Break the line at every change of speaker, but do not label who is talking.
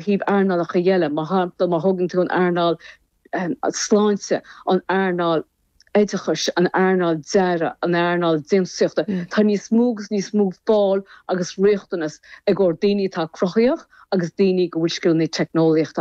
thaobh earnálacha eile, mar shampla má thógann tú an earnáil sláinte, an earnáil oideachais, an earnáil dearaidh, an earnáil déantúsaíochta, tá níos mó agus níos mó fáil agus riachtanas i gcomhair daoine atá cruthaitheach agus daoine go bhfuil scileanna teicneolaíochta.